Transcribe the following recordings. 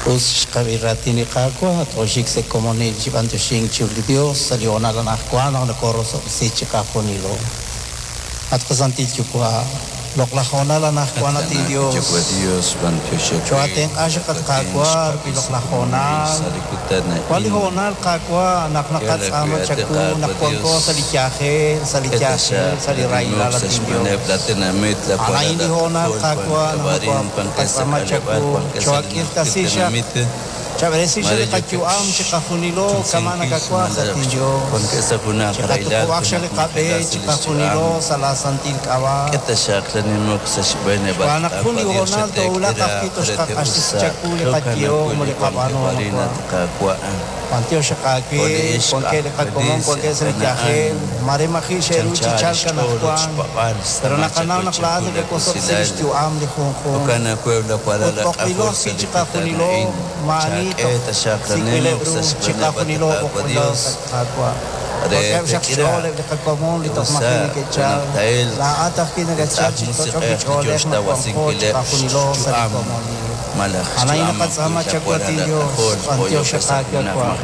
Us xqab'i raatin li Qaawa', tooxik sa' komonil chi b'antioxink chiru li Dios sa' li hoonal anajwan naq nokorosob'tesi chiqajunilo. At qaSantil Yuwa', loq'laj hoonal anajwan at inDios, choo'atenq'a xaq at Qaawa' rik'in loq'laj hoonal. Wan li hoonal, Qaawa', naq naqatz'aama chawu naq wanko sa' li yajel, sa' li yajel, sa' li rahilal, at inDios. A'an a'in li hoonal, Qaawa', naq nokooqatz'aama chawu, choo'ak'irtasi xaq, chab'eresi xaq li qayu'am chiqajunilo kama' nakawaj, at inDios. Chiqatuqub'aq xaq li qab'e chiqajunilo sa' laa santil k'ab'a'. Xb'aan naq jun li hoonal toowulaq ajwi' toxqaq'axtesi chawu li qayehom ut li qab'aanuhom ajwa'. B'antiox xaq aawe, wankeb' li qakomon wankeb' sa' li yajel, maare maji' xe'ru chi chalk anajwan, pero naqanaw naq laa'at nakawosob'tesi lix yu'am li junjunq. Ut b'oqb'ilo ajwi' chiqajunilo, maa'ani toj sik'b'ileb' ru, chiqajunilo b'oqb'ilo, at Qaawa'. Wankeb' xaq xch'ool eb' li qakomon li toj maji' neke'chal, laa'at ajwi' nakatchal chi toch'ok li ch'oolej naq wanqo chiqajunilo sa' li komonil. A'an a'in naqatz'aama chawu, at inDios, b'antiox xaq aawe, Wa'.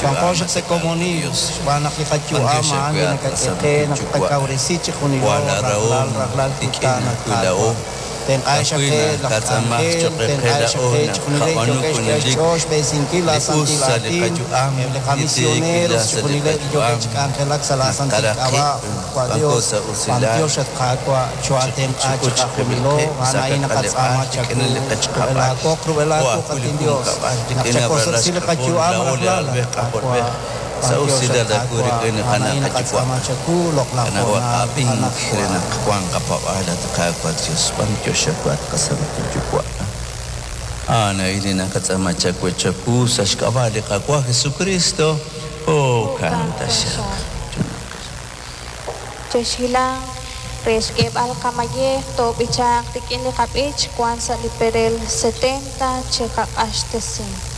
Wanqo xaq sa' komonil, xb'aan naq li qayu'am a'an li nakak'e qe naq tqakawresi chiqjunilo rajlal rajlal kutan, at Qaawa'. Tenq'a xaq qe laj k'anjel, tenq'a xaq qe chixjunileb' yookeb' xk'e xch'ool xb'eresinkil laa santil aatin, eb' li qamisioneros, chixjunileb' li yookeb' chi k'anjelak sa' laa santil k'ab'a', Qaawa' Dios, b'antiox at Qaawa', choo'atenq'a chiqajunilo, a'an a'in naqatz'aama chawu, rub'el aawoq, rub'el aawuq, at inDios, naq chawosob'tesi li qayu'am rajlal, at Qaawa', b'antiox at Qaawa', a'an a'in naqatz'aama chawu, loq'laj hoonal, anajwan. Jo'kan taxaq. Chexhilanq re xk'eeb'al qamayej toob'ichanq rik'in li qab'ich wank sa' li perel 70 chiqaq'axtesi.